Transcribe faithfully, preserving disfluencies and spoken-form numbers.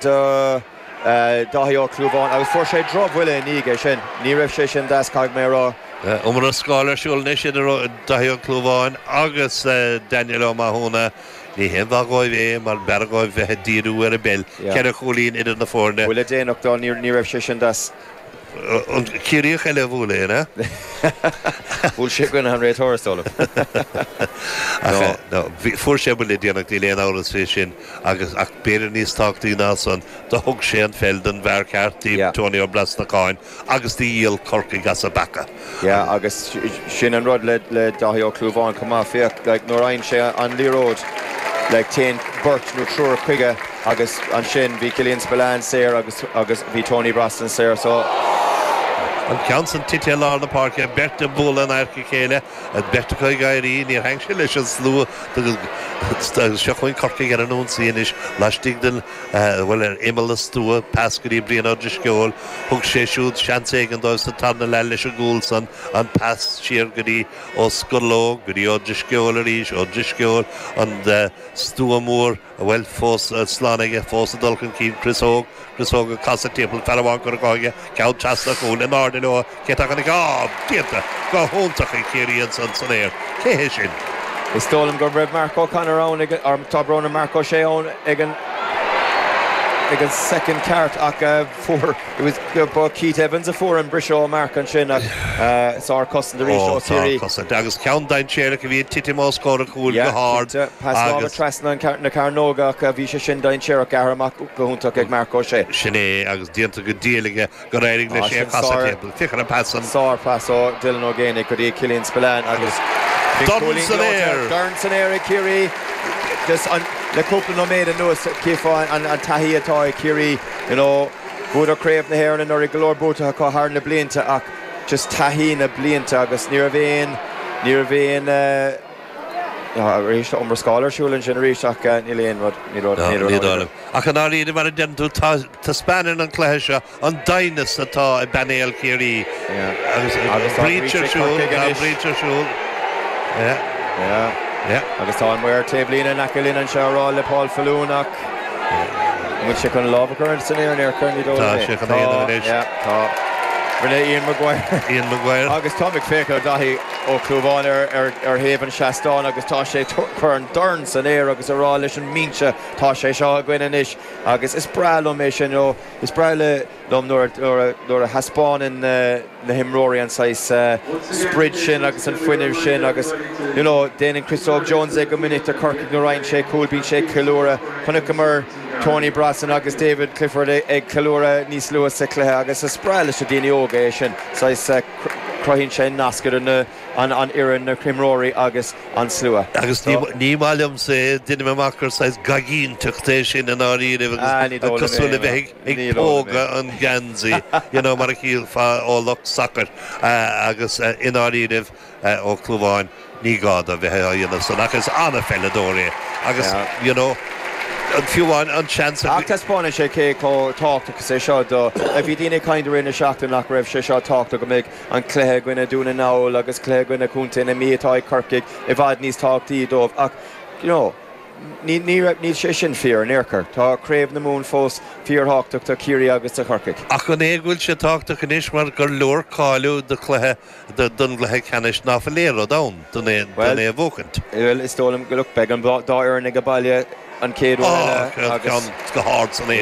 do Dáithí Ó Clúmháin agus fuair sé drochbhuille i ndiaidh é sin. Ní raibh sé sin deas, caithfidh mé a rá. Iomrascáil ar siúl anois idir Dáithí Ó Clúmháin agus Daniel Ó Mathúna. Ní haon mhaith dhóibh é mar b'fhearr dhóibh bheith ag díriú ar an bpeil. Ceithre chúilín idir na foirne. Buille déanach dó, ní raibh sé sin deas. An Ciarraíoch eile a bhuail é, an ea? Bhuail sé i gcoinne an réiteora, is dóigh liom. Ach no, fuair sé buille déanach, níl aon amhras faoi sin, agus ach b'fhéidir níos tábhachtaí ná san, do thug sé an pheil don bhfear ceart, Tony Ó Brosnacháin, agus do dhíol Corcaigh as a bpaca. Yeah, agus sin an rud le le Dáithí Ó Clúmháin chomh maith, féach, like, nuair a fhaigheann sé an liathróid, like, téann beirt nó triúr chuige agus ansin bhí Killian Spillane saor agus agus bhí Tony Brosnan saor, so. An ceann san tite i lár na páirce, beirt ag bualadh in adharca a chéile, an bheirt acu ag éirí, níor thaithin sé leis an slua agus seo chugainn Corcaigh ar an ionsaí anois laistigh den, bhuel, ar imeall an stua, pas go dtí Brian Ó Drisceoil, thug sé siúd seans éigin dóibh sa tarna leath leis an gcúl san, an pas siar go dtí Ó Scorlóg, go dtí Ó Drisceoil arís, Ó Drisceoil, an stua mór. Bhuel, fós slán aige, fós ag dul chun cinn, Chris Óg, Chris Óg ag casadh timpeall, fear amháin curtha aige, ceann trasna an chúil, in airde leo, cé atá chun, á, déanta go hiontach ag Ciarraí ansan san aer, cé hé sin? Is dóigh liom go raibh Mark O'Connor ann ag, or tá brón orm, Marc Ó Sé ann ag an, ag an soicind ceart ach fuair, it was, ba Keith Evans a fuair an briseadh ó Mark ansin ach sár-chosaint arís ó Chiarraí. Sár-chosaint agus ceann dainséarach a bhí ag titim os comhair an chúil go hard Yeah, cinnte. Pas láimhe agus. trasna an, na cearnóga ach bhí sé sin dainséarach, gearrtha amach go hiontach ag Marc Ó Sé. Sin é agus déanta go diail aige gur éirigh leis Ah, é a sin chasadh sár, timpeall. Féach ar an pas san. sár-phas ó Dylan Ó Géibheannaigh go dtí Killian Spillane agus bhí Dorn cúilín san gleoite, aer! dorn san aer ag Ciarraí. Just an, le cúpla nóiméad anuas cífeá an, an taithí atá ag Ciarraí, you know, Bhuadar Craobh na hÉireann anuraidh, go leor buaite acu thar na blianta ach just taithí na blianta agus ní raibh aon, ní raibh aon, arís tá iomrascáil ar siúl ansin arís ach níl aon rud, níl rud, níl rud ann. Ach i ndáiríre, mar a deireann tú, tá, taispeánann an cluiche seo an doimhneas atá i bpainéal Chiarraí agus Agus tá breach breach ar ag siúl, Corcaigh tá anois. breach ar siúl. Yeah. Yeah. Yeah. Agus tá an maor taobhlíne in aice linn anseo ag rá le Paul Faloon ach an bhfuil sé chun lámh a chur san aer in aer chor ní dóigh Tá liom é. sé chun é a dhéanamh anois. Yeah, tá. Rinne Ian Maguire. Ian Maguire. Agus táim ag féachaint ar Daithí Ó Clúmháin ar, ar, ar thaobh an seastáin agus tá sé ag cur an dorn san aer agus ag rá leis an mbinse tá sé seo againn anois agus is breá liom é sin, you know, is breá le, liom nuair, nuair, nuair a thaispeánann na, na himreoirí an saghas sprid sin agus an fuinneamh sin agus you know déanann Chris Óg Jones é go minic do Chorcaigh nuair a fhaigheann sé cúl bíonn sé ag ceiliúradh. Chonaiceamar Tony Brosnan agus David Clifford ag ceiliúradh níos luaithe sa chluiche agus is breá leis na daoine óga é sin saghas cruthaíonn sé nasc idir na an an fhoireann, na himreoirí agus an slua. Agus ní ní maith liomsa é, deinim amach gur saghas gaigínteacht é sin i ndáiríribh Ah, ní agus dóigh liom cosúil é, le bheith ag ní dóigh liom é. pógadh an gheansaí, you know, mar a shílfeá ó lucht sacair agus i ndáiríribh Ó Clúmháin, ní gá dó bheith á dhéanamh san ach is an-pheileadóir é agus you know, fiú amháin an seans a Ach taispeánann sé cé chomh tábhachtach is é seo do. Bhí daoine ag caint i rith na seachtaine nach raibh sé seo tábhachtach go mbeadh an cluiche i gcoinne Dún na nGall agus cluiche i gcoinne Chontae na Mí atá ag Corcaigh i bhfad níos tábhachtaí dóibh ach you know, ní, ní raibh, níl sé sin fíor in aon chor. Tá Craobh na Mumhan fós fíorthábhachtach do Chiarraí agus do Chorcaigh. Ach an é go bhfuil sé tábhachtach anois mar gur leor cáiliú do chluiche, don gcluiche ceannais ná fuil aon rud ann don é, Bhuel, don é a bhuachaint? bhuel, is dóigh liom go, look, beidh an dá fhoireann ag baile an chéad uair Á, eile agus ceann go hard san aer.